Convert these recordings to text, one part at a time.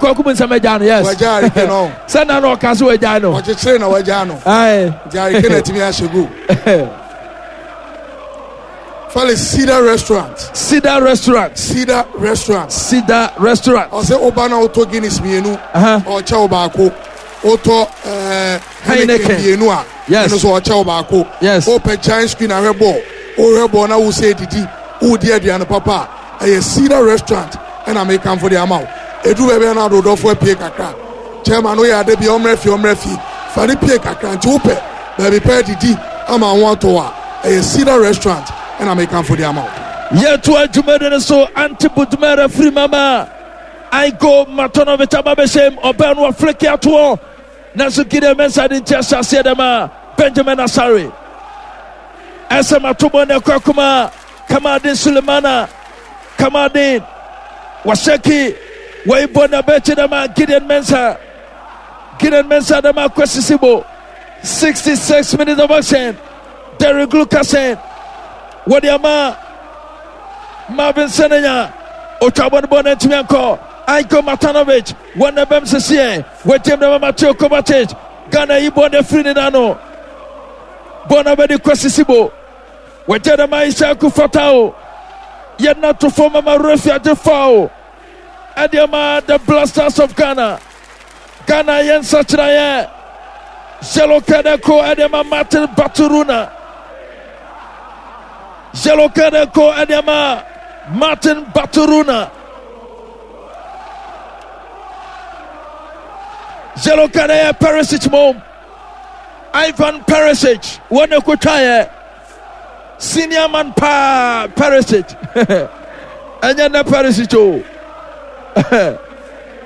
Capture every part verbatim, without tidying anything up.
Kwaku mu nsɛm agya no, yes. Wagya Harry Kane ɔ. Sɛ na na ɔka so wagya no. Ɔkyekyere na wagya no. Aye. Nti Harry Kane atumi ahyɛ goal. Felix, Cedar Restaurant. Cedar Restaurant. Cedar Restaurant. Cedar Restaurant. Ɔsɛ ɔba na ɔtɔ Guinness mmienu. Ɔkyɛ wo baako. Wotɔ ɛɛ Heineken mmienu a. Yes. Ɛno nso ɔkyɛ wo baako. Yes. Wopɛ giant screen ahwɛ bɔɔl. Wohwɛ bɔɔl na wosɛ didi. Wodi aduane papa a, ɛyɛ Cedar Restaurant ɛna mekamfo de ama wo. Ɛduru baabi a na ade wo dɔfo apue kakra. Chairman woyɛ ade bia ɔmmrɛ fie ɔmmrɛ fie. Fa no pue kakra. Nti wopɛ baabi pa adidi ama ho atɔ wo a, ɛyɛ Cedar Restaurant ɛna mekamfo de ama wo. Yɛtoa dwumadi no so, Ante Budmera firi mama Aigo Matonovic aba bɛhyɛm, ɔbɛn no wafleke atoɔ, nanso Gideon Mensah de nti ahyɛ aseɛ dɛm a Benjamin Asare ɛsɛ matobɔ ne ɛkɔ akoma Kamaldeen Sulemana. Kamaldeen Waseki wɔibɔ na bɛkyi dɛm a Gideon Mensah. Gideon Mensah dɛm a Kwesi Sibo. sixty-six minutes of action. Derek Lucasen wɔde ama Marvin Senaya. Otwa bɔ no bɔ no ntumi ankɔ. Aiko Matanovic wɔn na bɛm sisiɛ. Wɔgyem dɛm a Mateo Kovacic. Ghana yi bɔ no afiri ne nan no. Bɔ no bɛde Kwesi Sibo. Wɔgye dɛm a Ishaku Fatao. Yɛn nato fam ama refi agye foul. Ɛde ama the Blasters of Ghana. Ghana yɛn nsakyerɛeɛ. Yellow card ɛkɔ ɛde ama Martin Baturuna. Yellow card ɛkɔ ɛde ama Martin Baturuna. Yellow card ɛyɛ Perisic mom. Ivan Perisic wɔn na ɛkɔtwaeɛ. Senior man paa Perisic. Ɛnyɛ nɛ Perisic o.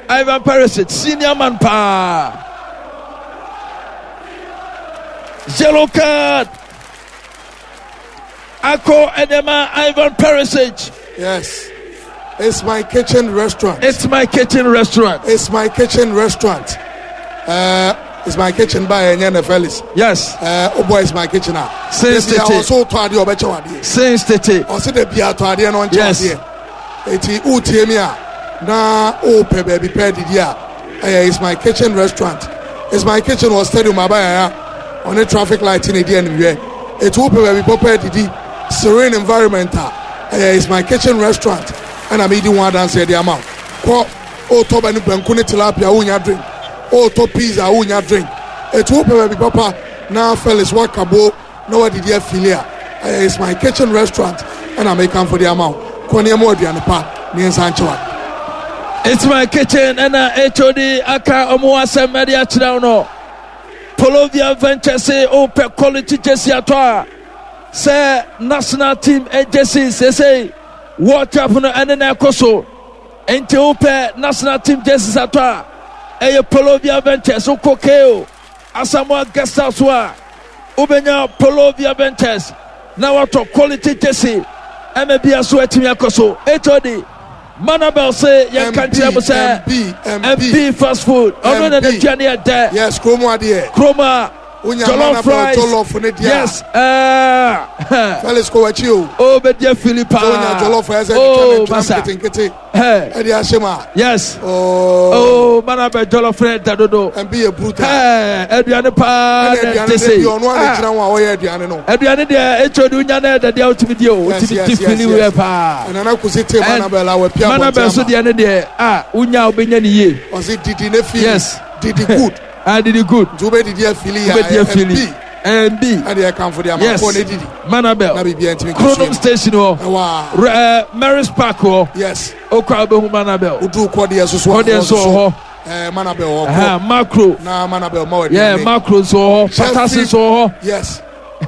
Ivan Perisic, senior man paa. Yellow card. Akɔ ɛdɛma Ivan Perisic. Yes. It's my kitchen restaurant. It's my kitchen restaurant. It's my kitchen restaurant. Uh, it's my kitchen by Enyene Felix. Yes. Uh, oh boy, it's my kitchen. Ah. Since tete. Also to ade obeche wade. Since tete. Ɔse de bia to ade no nche Yes. ade. Eti utie mi a na o pɛ baabi pɛ didi a ɛyɛ It's My Kitchen Restaurant. It's My Kitchen wɔ stadium abayaya ɔne traffic light na edi animhwɛ. Eti wopɛ baabi pɔpɛ didi, serene environment a, ɛyɛ It's My Kitchen Restaurant ɛna medi ho adanseɛ de ama wo. Kɔ otɔ bɛ ne banku ne tilapia wonya drink, otɔ pizza wonya drink. Eti wopɛ baabi papa na Felix wakabo na wadidi afili a, ɛyɛ It's My Kitchen Restaurant ɛna mekamfo de ama wo. Kɔ nneɛma aduane pa ne nsa nkyewa. It's My Kitchen ɛna H O D aka ɔmo asɛm ɛde akyerɛ wo no. Polovia Ventures wopɛ quality jersey atɔ a, sɛ national team jersey, sesei World Cup no ɛne na ɛkɔ so, nti wopɛ national team jerseys atɔ a, ɛyɛ Polovia Ventures. Wokɔ K O Asamoah Guest House a, wobɛnya Polovia Ventures na watɔ quality jersey ɛma bia so atumi akɔ so. H O D Manabel se yɛnka nkyerɛ mo sɛ M B fast food ɔno na n'aduane yɛ dɛ. Yes, kurom adeɛ. Kurom a jollof rice. Jollof ne deɛ. Yes, ɛɛ. Felix kɔ w'akyi o. O bɛ diɛ fili paa. Sɛ wonya jollof ɛsɛ oh, twitwa ne ntwam nketenkete. Ɛde ahyɛ mu a. Yes. Oh, oh Manabel jollof ne da dodo. M B yɛ brutal. Ɛɛ aduane paa na ɛte se. Ɛna aduane no ɔno a gyina ho a ɔyɛ aduane no. Aduane deɛ etwa de wonya na ɛda deɛ wotumi di o, wotumi di fili wɛ paa. Ɛnana kusi te Manabel a wapia abɔnten ama. Manabel so deɛ ne deɛ a wonya a wobɛnya ne yie. Ɔsi didi ne fili. Yes. Didi good. Ah, didi good. Nti wobɛ didi afili ya. Wobɛ di afili. M B. Ɛde ɛkanfo de ama yes. Kɔ ne didi. Manabel. Na biribi ntumi Kronom station hɔ. Ɛwɔ. Ɛɛ Mary's Park hɔ. Yes. Okɔ a wobɛhu Manabel. Odu kɔdeɛ soso. Kɔdeɛ nso wɔ hɔ. Ɛɛ Manabel wɔ hɔ. Macro. Na Manabel ma wɔ aduane. Yeah, Macro nso wɔ hɔ. Patasi nso wɔ hɔ. Yes.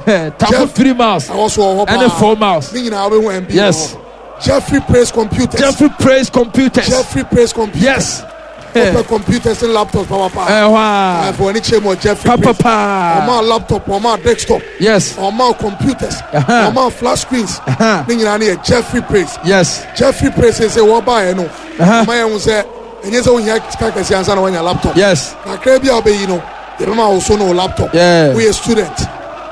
Tafo three miles. Ɛwɔ so wɔ hɔ paa. Ɛne four miles. Ne nyinaa wobɛhu M B. Yes. Jeffrey Praise Computers. Jeffrey Praise Computers. Jeffrey Praise Computers. Yes. Wopɛ computers and laptops papa. Ɛhɔ a. Ɛfɔ ani kyerɛ mu wɔ Jeffrey Papa Praise. paa. Ɔma laptop, ɔma desktop. Yes. Ɔma computers. Ɛhɛn. Ɔma flat screens. Ɛhɛn. Ne nyinaa ne yɛ Jeffrey Praise. Yes. Jeffrey Praise sɛ wɔbaeɛ no. Ɛhɛn. Ɔma yɛn ho sɛ ɛnyɛ sɛ wohia sika kɛseɛ ansa na woanya laptop. Yes. Kakra bi a wobɛyi no, yɛbɛma wo so no wo laptop. Yeah. Woyɛ student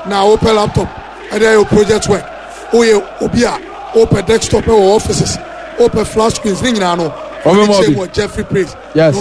na wopɛ laptop ɛde ayɛ wo project work. Woyɛ obi a wopɛ desktop ɛwɔ offices, wopɛ flat screens ne nyinaa no. Ɔbɛma Ɔne kyerɛ obi. mu wɔ Jeffrey Praise. Yes. Na